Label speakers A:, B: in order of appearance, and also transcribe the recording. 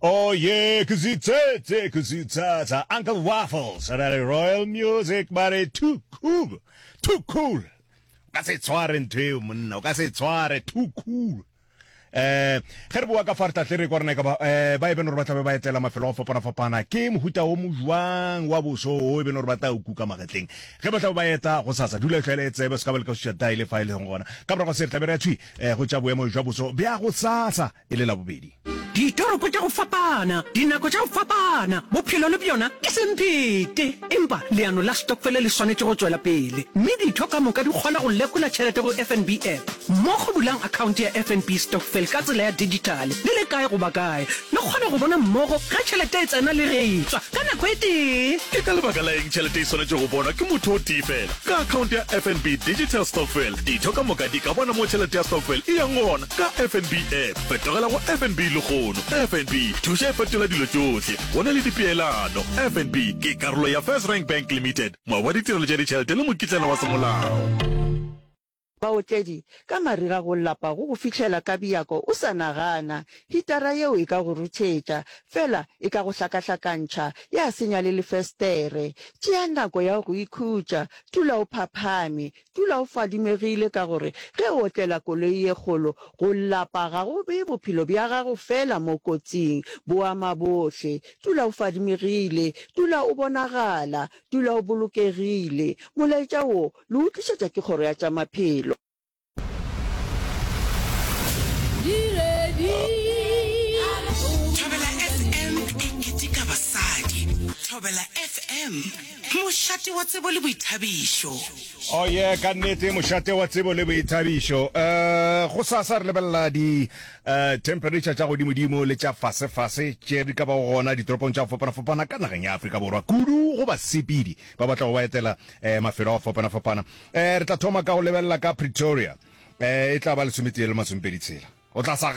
A: Oh yeah, kuzitsetse, kuzitsatsa. Uncle Waffles, ra re Royal Music, ba re too cool, too cool. O ka se tshware ntho eo monna, o ka se tshware too cool. Eh, ge re boa ka fa re tla tle re kwa rena e ka ba eh, ba e bene gore ba tlabe ba etela mafelo a go fapana-fapana ke mohuta o mo jwang wa boso o e bene gore ba tla o kuka magetleng ge ba tlabe ba eta go sasa dula e tlwaele e tsebe se ka ba le ka suša daile fa e leng gona ka morago se re tlabe re ya thwi eh, go tša boemo jwa boso bja go sasa e le Labobedi.
B: Ditoropo tša go fapana, dinako tša go fapana, bophelo le bjona ke semphete. Empa leano la stokfele le swanetše go tšwela pele, mme ditho ka moka di kgona go lekola tšhelete go FNB app. Mmogo bulang akhaonte ya FNB Stokvel ka tsela ya dijithale le le kae goba kae. Le kgona go bona mmogo ge tšhelete e tsena le ge e tšwa ka nako e tee.
C: Ke ka lebaka la eng tšhelete e swanetše go bonwa ke motho o tee fela? Ka akhaonte ya FNB Digital Stokvel, ditho ka moka di ka bona mo tšhelete ya stokvel e yang gona. Ka FNB app, fetogela go FNB lehono. FNB, thuša e fetola dilo tšohle. Go na le dipeelano. FNB ke karolo ya FirstRand Bank Limited, moabi wa ditirelo tša ditšhelete le mokitlana wa semolao.
D: Baotledi, ka mariga go lapa go go fihlela ka bjako o sa nagana. Hitara yeo e ka go ruthetša, fela e ka go hlakahlakantšha, ya senya le lefestere. Tšea nako ya go ikhutša, dula o phaphame, Dula o fadimegile ka gore ge o otlela koloi ye kgolo, go lapa ga go bee bophelo bja gago feela mo kotsing, bo ama bohle. Dula o fadimegile, dula o bonagala, dula o bolokegile. Molaetša wo le o tlišetša ke Kgoro ya tša Maphelo.
E: Thobela FM e keteka basadi. Thobela FM, mošate wa tsebo le boithabišo.
A: Oh yeah, ka nnete mošate wa tsebo le boithabišo. Uh, go sasa re lebelela di uh, temperature tša godimodimo le tša fasefase tše di ka bago gona ditoropong tša go fapana-fapana ka nageng ya Afrika Borwa, kudu go basepedi ba ba tlago ba etela eh, mafelo a go fapana-fapana. Eh, re tla thoma ka go lebelela ka Pretoria. Eh, e tla ba lesometee le masomepedi tshela. O tla sa.